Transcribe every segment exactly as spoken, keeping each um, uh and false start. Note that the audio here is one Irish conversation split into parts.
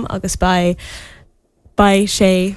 Agus beidh beidh sé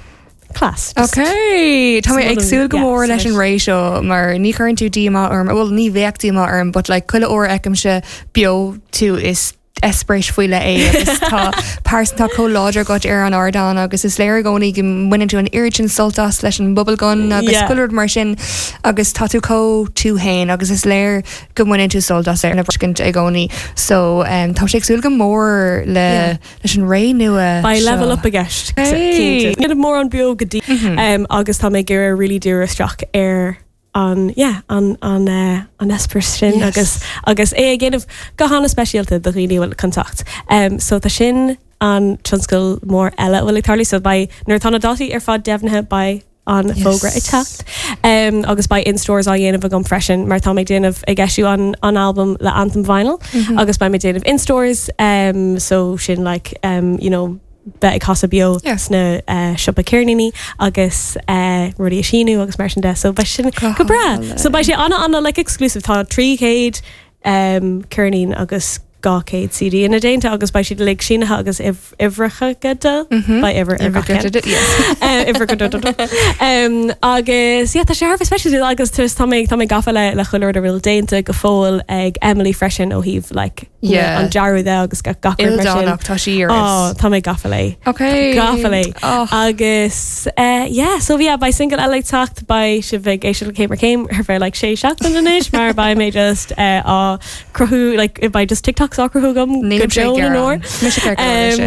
class. Just Ok, Tá mé ag súil go mór leis an ré seo, mar ní chuireann tú díomá orm, well, ní bheadh díomá orm, but like chuile uair a fheicimse beo tú, is eispéireas faoi leith é, agus tá pearsanta chomh láidir agat ar an ardán, agus is léir i gcónaí go mbaineann tú an oiread sin sult as leis an bubblegum agus Yeah. chuile rud mar sin, agus tá tú chomh tú féin, agus is léir go mbaineann tú sult as ar na briscint i gcónaí, so um, tá sé ag súil go mór le Yeah. leis an ré nua Beidh seo. level up i gceist. Hey. Déanamh mór an beo go dtí um, agus tá mé ag iarraidh really díriú isteach ar an yeah, an an uh, an eispéireas sin Yes. agus agus é ag déanamh go han-speisialta do dhaoine bhfuil contact. Um, so tá sin an tionscal mór eile a bhfuil ag tarlú, so beidh, nuair tá na dátaí ar fad deimhnithe, beidh an Yes. fógra ag teacht. Um, agus beidh in-stores á dhéanamh agam freisin, mar tá mé déanamh ag eisiú an, an album le Anthem Vinyl mm -hmm. agus beidh mé déanamh in-stores, um, so sin like um, you know bheith ag casadh beo Yeah. sna uh, siopa ceirníní agus uh, rudaí a síniú agus mar sin de, so beidh sin Go go breá. hálainn. So beidh sé ana ana like exclusive. Tá trí chéad um, ceirnín agus dhá chéad C D ina déanta, agus beidh siad uilig sínithe agus uimhreacha de beidh uimhir ar gach ceann. Yes. Eh, uimhir go do- do- do. Um, agus yeah, tá sé thar special, agus tá tá mé tá mé gafa le le chuile rud a bhfuil déanta go fóill ag Emily freisin ó thaobh like Yeah. an dearadh de agus gach gach rud mar sin. Ildánach, tá sí ar Oh, tá mé gafa léi. Ok. Gafa léi. Oh. Agus uh, yeah, so yeah, beidh single eile ag teacht. Beidh sibh ag éisteacht le Céim ar Chéim ar feadh like sé seachtain anois, mar beidh mé just uh, á cruthú, like beidh just TikToks á cruthú agam Níl go sé deo na gearán. nóir. Mise ceart go leor Um, sin.